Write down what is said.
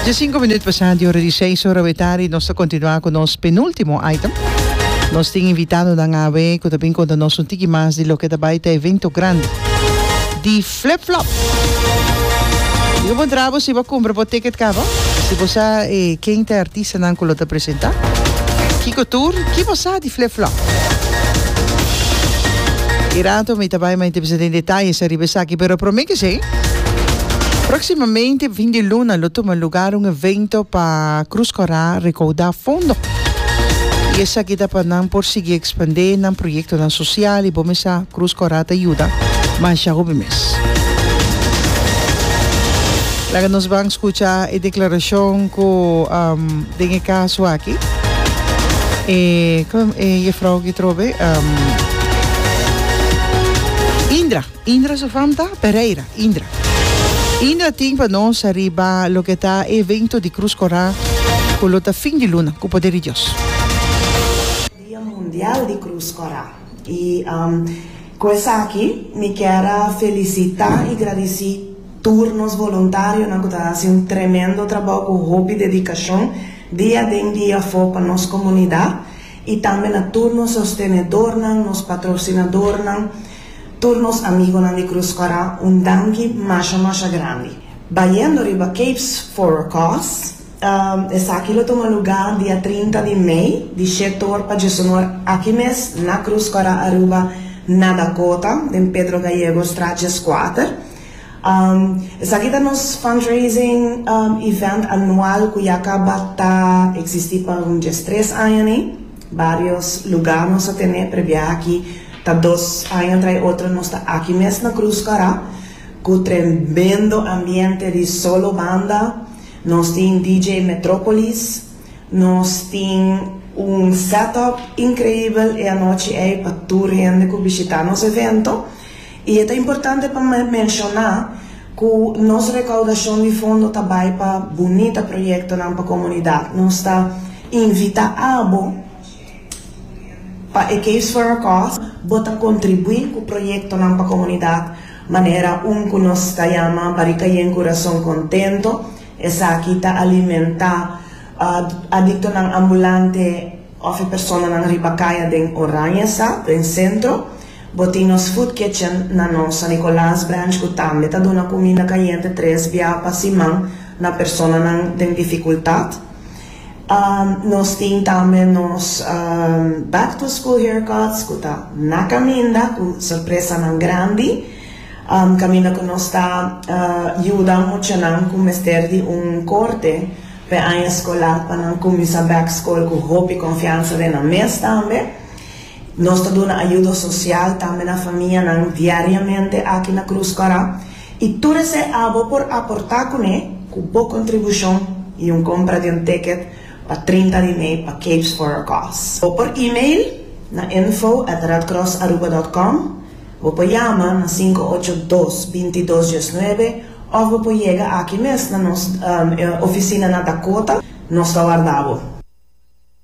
Diescinco minuut pasá di ora di seis ora wetari nos ta continua cu nos penultimo item. Nos tin invitadonan awe cu ta bin conta nos un tiki mas di loke ta bay ta evento grandi di Flip Flop. Mi ta puntra bo si bo a cumpra bo ticket caba, si bo sa e ken ta e artistanan cu lo ta presenta, kico tur, ki bo sa di Flip Flop. Y rato mi ta bay ma bisa den detayes ariba esaki, pero prome ke esey, proximamente fin di luna lo tuma lugar un evento pa Cruz Cora recauda fondo. Y esaki ta pa nan por sigui expande nan proyectonan social y bo mesa Cruz Cora ta yuda masha hopi mes. Laga nos ban scucha e declaracion cu den e caso aki e e juffrouw aki trobe Indra, Indra su fam ta Pereira, Indra. Indra tin pa nos ariba loke ta e evento di Cruz Cora cu lo ta fin di luna cu poder di Dios. Dia Mundial di Cruz Cora y cu esaki mi kier a felicita y gradici Tur nos voluntarionan ku ta hasi un tremendo trabou ku hopi dedikashon dia den dia afó pa nos komunidat i tambe na tur nos sostenedornan, nos patrosinadornan, tur nos amigonan di Cruz Kòrá un danki masha masha grandi. Bayendo riba Capes for a Cause, esaki lo tuma lugá dia 30 di mei di shetor pa djesonor aki mes na Cruz Kòrá Aruba na Dakota den Pedro Gallegostraat 14. Esaki ta nos fundraising event anual ku ya kaba ta eksistí pa un diestres aña ni. Barios lugá nos a tene prebia aki ta dos aña trai otro nos ta aki mes na Cruz Kara ku tremendo ambiente di solo banda. Nos tin DJ Metropolis, nos tin un setup inkreibel e anochi ei pa tur hende ku bishitá nos evento. I e ta importante pa menshoná ku nos rekoudashon di fondo ta bai pa bunita proyektonan pa komunidat. Nos ta invitá abo pa e Caves for a Cause bo ta kontribuí ku proyektonan pa komunidat manera un ku nos ta yama Barika Yen Kurason Kontento. Esaki ta alimentá adiktonan ambulante òf e personanan riba kaya den Oranjestad, den sentro. Bo tin nos food kitchen na nos San Nicolas branch cu tambe ta duna cuminda cayente tres bia pa siman na personanan den dificultad. Nos tin tambe nos back to school haircuts cu ta na caminda cu sorpresanan grandi. Caminda cu nos ta yuda muchanan cu mester di un corte p'e aña escolar pa nan cuminsa back school cu hopi confiansa den nan mes tambe. Nos ta duna ayudo sosial tambe na famianan diariamente aki na Cruz Cora y tur esei abo por aporta cune cu bo contribucion y un compra di un ticket pa 30 di mei pa Capes for a Cause. Bo por email na info at redcrossaruba dot com, bo por yama na 582 22 19 of bo por yega aki mes na nos oficina na Dakota. Nos ta warda bo.